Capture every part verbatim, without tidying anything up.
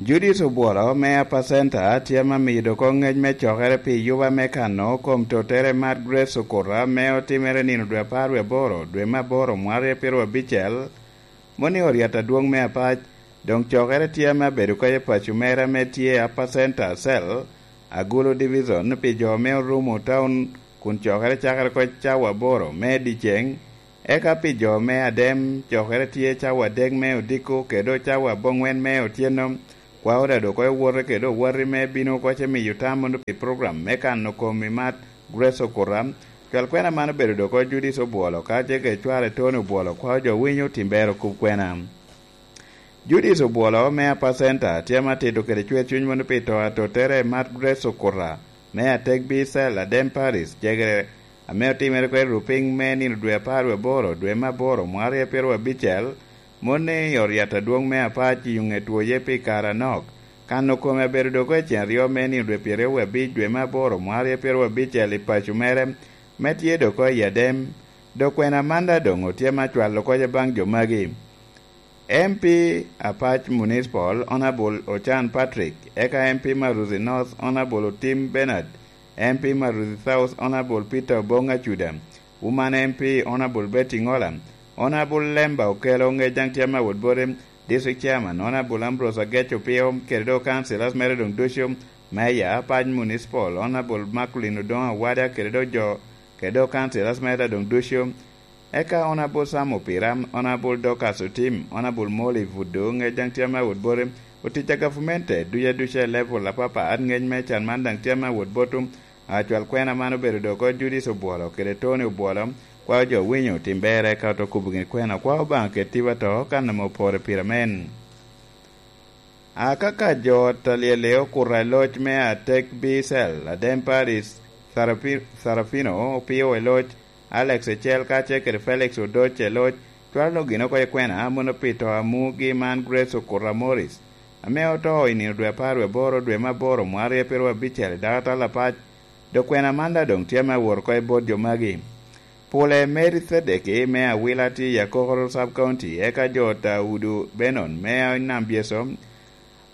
Judith Obwolo me Upper Center tye ame amiyo doko ngec me cokere pi yuba me kano kom tottere Mad Grace Okuta me otimere nino dwe apar wie aboro dwe me aboro mwaka aryo pyeraryo abicel, moni oryat adwong me apac. Doŋ cokere tye ame abedo kede paco mere ame tye i Upper Center Cell, Agulu Division, pi jo me Orumo Town, kun cokere cakere oko cawa aboro me dyeceŋ, eka pi jo me Adem, cokere tye cawa adek me odiko kede cawa aboŋwen me otyeno. Kwao daŋ dok owote kede owati me bino oko ce miyo tam mono pi program me kano kom i Mad Grace Okuta. Cwal kwena man obedo dok oko Judith Obwolo, ka ce kede cware Tony Obwolo, kwao jo winyo Timbero kub kwena. Judith Obwolo me Upper Center tye ame atito kede cwer cuny mono pi to atottere Mad Grace Okuta me Atek B Cell, Adem Parish, cegere ame otimere kede rupiŋ me nino dwe apar wie aboro dwe me aboro mwaka aryo pyeraryo abicel, moni oryat adwong me apac i ŋe twoye pi kare anok. Kano kome abedo dok oko i cen aryo me nino dwe pyeraryo wie abic dwe me aboro mwaka aryo pyeraryo abicel i paco mere, me tye dok oko i Adem. Dok kwena man daŋ doŋ otye ame acwalo oko ce baŋ jo magi. M P Apac Municipal, Honourable Ocan Patrick, eka M P Maruthi North, Honourable Otim Bernard, M P Maruthi South, Honourable Peter Obong Acuda, Woman M P, Honourable Betty Ngola, Honourable Lemba Okello, ŋec daŋ tye ame awot bote, District Chairman, Honourable Ambrose Agec Opio, kede dok councillors mere doŋ ducu, Mayor, Apac Municipal, Honourable Macklin Odongo Awada, kede dok jo, kede dok councillors mere doŋ ducu, eka Honourable Sam Opira, Honourable Dorcas Otim, Honourable Molly Buddo, ŋec daŋ tye ame awot bote, otic a gavumenti ducu aduca i level apapat, ŋec me can man daŋ tye ame awot botu. Acwal kwena man obedo dok oko Judith Obwolo kede Tony Obwolo, kwao jo winyo Timbero, eka oto kubo gin kwena, kwao Obaŋa kede tipo ato, kan ame opore pire amen. A kaka jo ot a lyel-li okuto i loc me Atek B Cell, Adem Parish, Sarapi-, Sarafino Opio i loc, Alex Ecel kacel kede Felix Odoc i loc, cwalo gin oko i kwena mono pi to a mugi man Grace Okuta Morris, ame oto i nino dwe apar wie aboro dwe me aboro mwaka aryo pyeraryo abicel i dakatal apac. Dok kwena man daŋ doŋ tye ame awot oko i bot jo magi. Pule Mary Thedeki me Awila tye i Akokoro Sub County, eka jo ot a Udu Benon me Nam Byeso,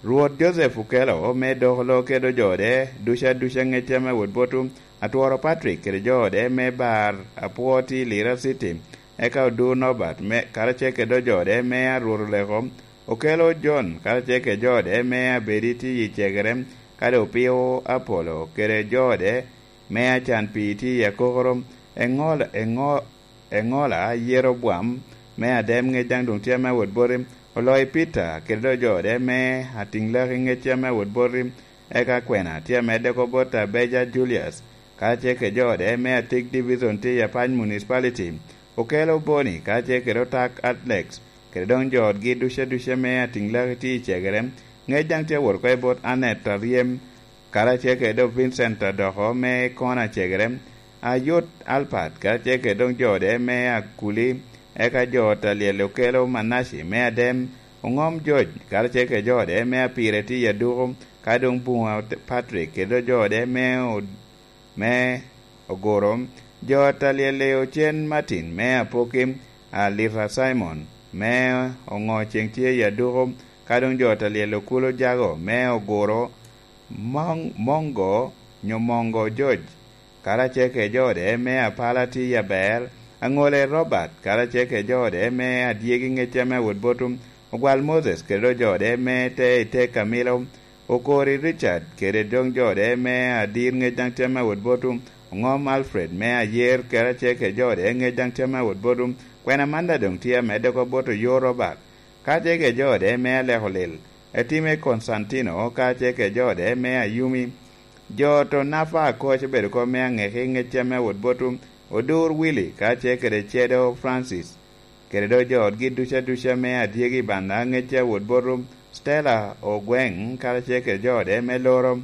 Rwot Joseph Okello me dok lo kede jo ode ducu aduca, ŋec tye ame awot botu, Atworo Patrick kede jo ode me Bar Apwo tye i Lira City, eka Odur Norbert me, karacel kede jo ode me Arwot Oleko, Okello John karacel kede jo ode me Abedi tye i Cegere, kadi Opio Apollo kede jo ode me Acan Pii tye i Akokoro, Eŋol-, Eŋo-, Eŋola Yeroboam me Adem, ŋec daŋ doŋ tye ame awot boti, Oloyi Peter kede dok jo ode me Atiŋlaki, ŋec tye ame awot boti, eka kwena tye amedde oko bot Abeja Julius, karacel kede jo ode me Atik Division tye i Apac Municipality, Okello Boni karacel kede Otak Alex, kede doŋ jo otgi ducu aduca me Atiŋlaki tye i Cegere, ŋec daŋ tye awot oko i bot Annet Aryem, karacel kede dok Vincent Adoko me Kona Cegere, Ayot Alpat karacel kede dok jo ode me Akuli, eka jo ot a lyel Okello Manaci me Adem, Oŋom George karacel kede jo ode me Apire tye i Aduku, ka doŋ Buŋa Patrick kede dok jo ode me Od-, me Oguro, jo ot a lyel Ocen Martin me Apoki, Alita Simon me Oŋo Ceŋ tye i Aduku, ka doŋ jo ot a lyel Okulo Jago me Oguro, Mong-, Mongo nyo Mongo George, karacel kede jo ode me Apala tye i Aber, Aŋole Robert, karacel kede jo ode me Adyegi, ŋec tye ame awot botu, Ogwal Moses kede dok jo ode me te i te Kamilo, Okori Richard kede doŋ jo ode me Adir, ŋec daŋ tye ame awot botu, Oŋom Alfred me Ayer, karacel kede jo ode, ŋec daŋ tye ame awot botu, kwena man daŋ doŋ tye amedde oko bot Oyo Robert, karacel kede jo ode me Aleko Lil, Etime Konstantino, karacel kede jo ode me Ayumi. Jo ot Onafa Akoc obedo oko me Aŋeki, ŋec tye ame awot botu, Odur Willy, karacel kede Cedo Francis, kede dok jo otgi ducu aduca me Adyegi Banda, ŋec tye awot botu, Stella Ogweŋ, karacel kede jo ode me Loro,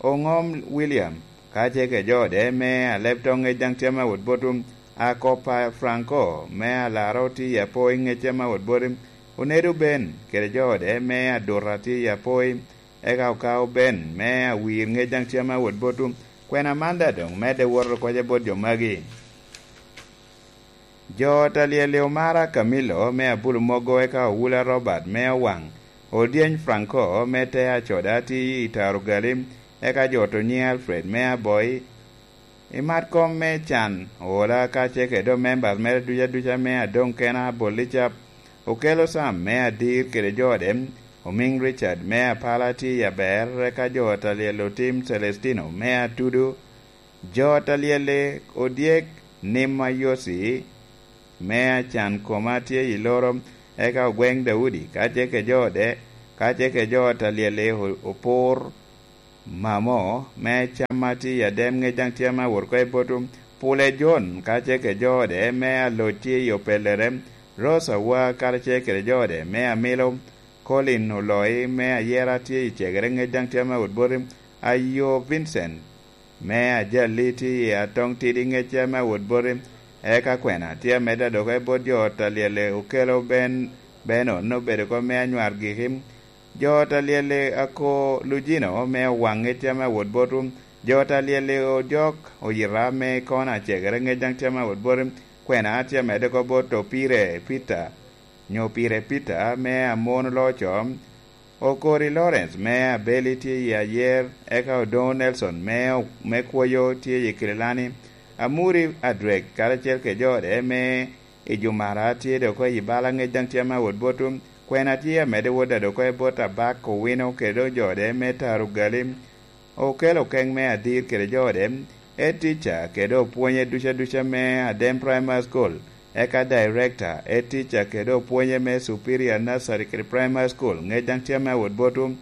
Oŋom William, karacel kede jo ode me Alebto, ŋec daŋ tye ame awot botu, Akopa Franco me Alaro tye i Apoi, ŋec tye ame awot botu, Onedo Ben kede jo ode me Aduta tye i Apoi, eka Okao Ben me Awir, ŋec daŋ tye ame awot botu, kwena man daŋ doŋ medde woto oko ce bot jo magi. Jo ot a lyel Omara Camillo me Abulu Mogo, eka Owula Robert me Owaŋ, Odyeny Franco me te Acoda tye i Tarugali, eka jo oto nyiŋ Alfred me Aboi. I mat kom me can, ola kacel kede doŋ members mere duca duca me adoŋ kena Abolica, okelo Sam me Adir kede jo ode, omiŋ Richard me Apala tye i aber, eka jo ata lyel otim Celestino me Atudu, jo ata lyel odyek Nima Yosi me Acan koma tye i Loro, eka Ogweŋ Daudi kacel kede jo ode, kacel kede jo ata lyel o-, opur, Mamo me Cam ma tye i Adem ŋec daŋ tye ame awot oko i Botum, Pule Jon kacel kede jo ode me Aloc tye i Opelere, Rose Awa karacel kede jo ode me Amilo, Colin Oloi me Ayera tye i Cegere ŋec daŋ tye ame awot boti, Ayo Vincent me Ajali tye i Atoŋ Tidi ŋec tye ame awot boti, eka kwena tye amedde adoko i bot jo ot a lyel Okelo Ben, Benon obedo oko me Anywar Giki, Jo ot a lyel Ako Lujino me Owaŋ ŋec tye ame awot boti, jo ot a lyel Ojok Oyira me Kona Cegere ŋec daŋ tye ame awot boti, kwena tye amedde oko bot Opire Peter, nyo Pire Peter me Amon Loco, Okori Lawrence me Abeli tye i Ayer, eka Odoŋo Nelson me, me Kwoyo tye i Kililani, Amuri Adrek karacel kede jo ode me i Jumara tye dok oko i bala ŋec daŋ tye ame awot boti, kwena tye amedde wot a dok oko i bot Abak Owino kede doŋ jo ode me Taro Gali, Okelo Okeŋ me Adir kede jo ode, Ed Teacher kede opwonye duca duca me Adem Primary School, eka Director, Ed Teacher kede opwonye me Superior Nursery kede Primary School ŋec daŋ tye ame awot boti,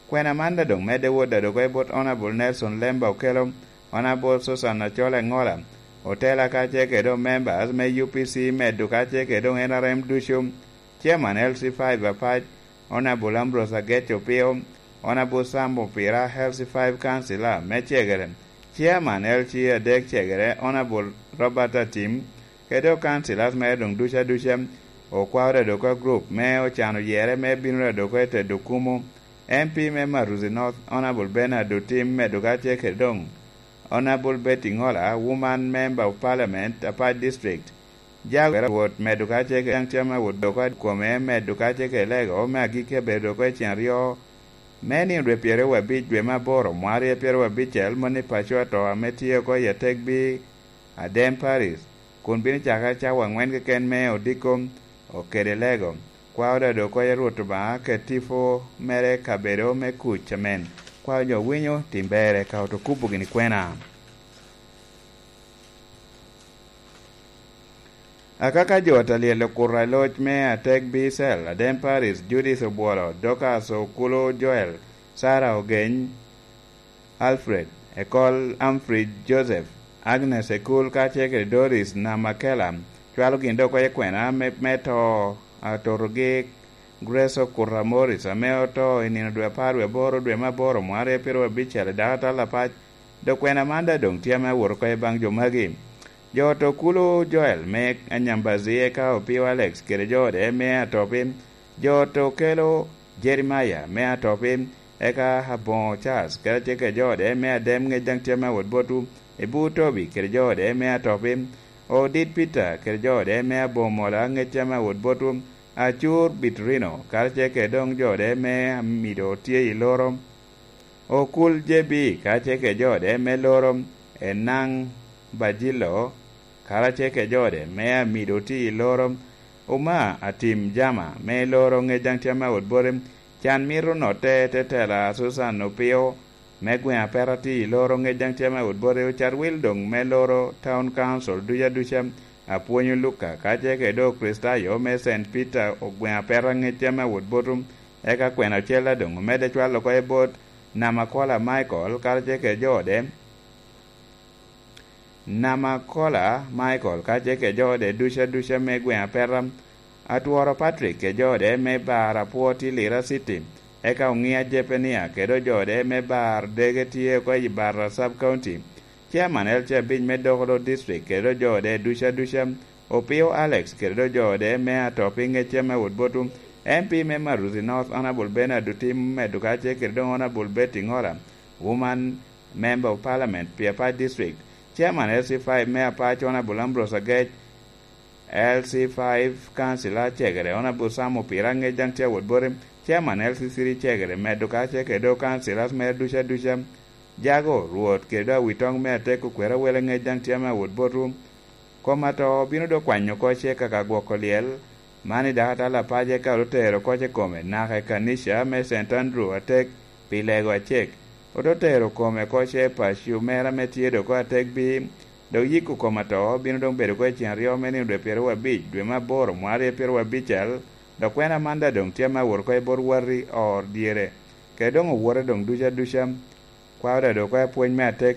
Kwena man daŋ doŋ medde wot a dok oko i bot Honourable Nelson Lemba Okelo, Honourable Susan Acol Engola, Otela kacel kede doŋ members me U P C medo kacel kede doŋ N R M ducu, Chairman L C five Apac, Honourable Ambrose Agec Opio, Honourable Sam Opira, L C five Councillor me Cegere, Chairman L C adek Cegere, Honourable Robert Atim, kede doŋ councillors mere doŋ duca duca, okwao Radoka Group me ocano yere me bino Radoka i Tedo Kumo, M P me Maruzi North, Honourable Bernard Otim, medo kacel kede doŋ Honourable Betty Ngola, Woman Member of Parliament, Apac District, Jago Rwot, medo kacel kede daŋ tye ame awot doko kome, medo kacel kede lego me agikki abedo doko i cen aryo, me nino dwe pyeraryo abic dwe me aboro, mwaka aryo pyeraryo abicel, moni paco ato ame tye oko i Ategbi, Adem Paris, kun bino cakere cawa aŋwen keken me odiko, okede lego. Kwao dodo oko i Rwot Obaŋa, ket tipo mere i kabedo me kuc amen. Kwao jo winyo, tim berre, ka oto kubo gini kwena. Akaka jo ata lyel okuto i loc me Ategbi Cell, Adem Paris, Judith Obwolo, Dorcas Okulu Joel, Sarah Ogeny, Alfred, Ekol Humphrey Joseph, Agnes Ekul kacel kede Doris Namakela, cwalo gin dok oko i kwena me, me to, atotogi Grace Okuta Morris, ame oto i nino dwe apar wie aboro dwe me aboro mwaka aryo pyeraryo abicel i dako atal apac, dok kwena man daŋ doŋ tye ame awot oko i baŋ jo magi. Jo oto Okulu Joel me Anyambazi, eka Opio Alex kede jo ode me Atopi, jo oto Okelo Jeremiah me Atopi, eka Aboŋo Charles kede acel kede jo ode me Adem ŋec daŋ tye ame awot botwu, Ebu Tobi kede jo ode me Atopi, Odit Peter kede jo ode me Aboŋo Mola ŋec tye ame awot botwu, Acur Bitrino karacel kede doŋ jo ode me Amido tye i Loro, Okul J B karacel kede jo ode me Loro, Enaŋ Bajilo karacel kede jo ode me Amido tye i Loro, Oma Atim Jama me Loro ŋec daŋ tye ame awot bote, Can Mito Notte te tela Susan Opio me gweŋ Apeta tye i Loro ŋec daŋ tye ame awot bote, Ocat Wil doŋ me Loro Town Council duca duca, Apwonyo Luka karacel kede doŋ Kricitayo me Saint Peter ogweŋ Apeta ŋec tye ame awot botwu, eka kwena ocel daŋ omedde cwalo oko i bot Namakola Michael karacel kede jo ode. Namakola Michael kacel kede jo ode duca duca me gweŋ Apeta, Atworo Patrick kede jo ode me bar Apwo tye Lira City, eka Oŋia Jepenia kede jo ode me bar Dege tye oko i Barra Sub County, Chairman L C abic me Dokolo District kede jo ode duca duca, Opio Alex kede jo ode me Atopi ŋec tye ame awot botwu, M P me Maruzi North Honourable Bernard Otim medo kacel kede doŋ Honourable Betty Ngola, Woman Member of Parliament pi Apac District, Chairman L C five me Apac Honourable Ambrose Agec, L C five Councillor Cegere Honourable Sam Opira ŋec daŋ tye awot bote, Chairman L C C D cegere medo ka ce kede dok councillors mere ducu aduca. Jago, Rwot, kede dok awitoŋ me atek okwero awele ŋec daŋ tye ame awot botwu. Kom ato bino dok kwanyo oko ce kaka gwoko lyel. Man i dakatal apace ka ote tero oko ce kome naka i kanica me Saint Andrew atek pi lego acek. Ote tero kome oko ce i paco mere ame tye dok oko atek bi, dok yiko kom ato bino dok bedo oko i cen aryo me nino dwe pyeraryo abic, dwe me aboro, mwaka aryo pyeraryo abic al, dok kwena man daŋ doŋ tye ame awot oko i bot wati or dyere, kede doŋ owote doŋ ducu aduca. Kwao daŋ dok oko i pwony me atek